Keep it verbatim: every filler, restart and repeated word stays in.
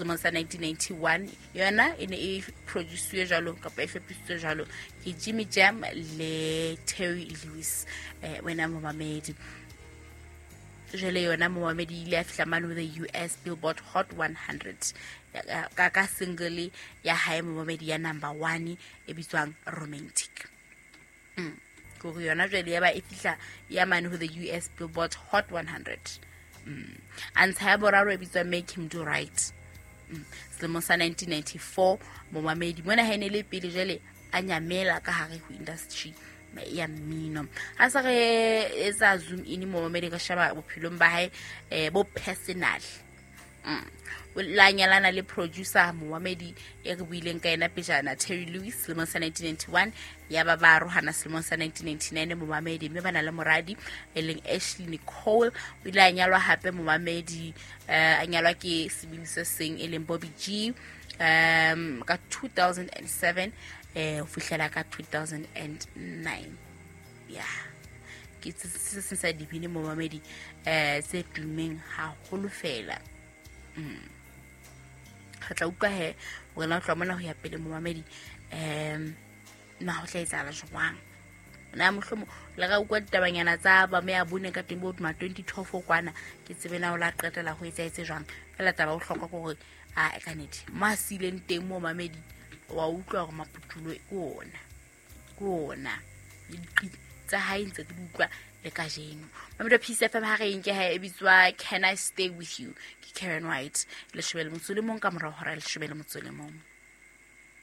Selemong sa nineteen ninety-one yona e ne e produce jwalo kapa e hlophisitswe jwalo ke Jimmy Jam le Terry Lewis. Eh, wena momamedi, jwale yona momamedi ile ya fihla mane ho the U S Billboard Hot one hundred ka, ka single ya hae momamedi ya number one e bitswang Romantic. Mm. Kore yona jwale ya ba e fihla ya mane ho the U S Billboard Hot one hundred. Mm. A ntsha ya boraro e bitswang Make Him Do Right. Mm. Selemong sa nineteen ninety-four momamedi mona ha e ne le pele jwale a nyamela ka hare ho industry ya mmino. Ha sa re etsa zoom in momamedi ka sheba bophelong ba hae, eh, bo personal. Mm. O la nyalana le producer momamedi e re buileng ka yena pejana Terry Lewis selemong sa nineteen ninety-one, ya ba ba arohana selemong sa nineteen ninety-nine momamedi, mme ba na le moradi e leng Ashley Nicole. O ile a nyalwa hape momamedi, eh, a nyalwa ke sebini se seng e leng Bobby G, um, ka two thousand and seven, eh, ho fihlela ka two thousand and nine. Yeah. Ke se se seng sa dibini momamedi, eh, tse tummeng haholo fela. Mm. Re tla utlwa he hore na o tloha mona ho ya pele momamedi, um, na ho tla etsahala jwang. Na mohlomong le ka utlwa ditabanyana tsa ba me ya bone ka teng bo ma twenty twelve kwana, ke tsebe na o la qetela ho etsahetse jwang. Fela taba o hloka ke hore, a, ka nnete, mo a siileng teng mo mamedi, wa utlwa hore maputulo ke ona, ke ona. Le diqi tsa hae ntse ke di utlwa le kajeno. Mamedi wa Peace F M ha re nke ha e bitswa Can I Stay With You ke Karen White. Leshome le motso le mong ka morao hora leshome le motso le mong.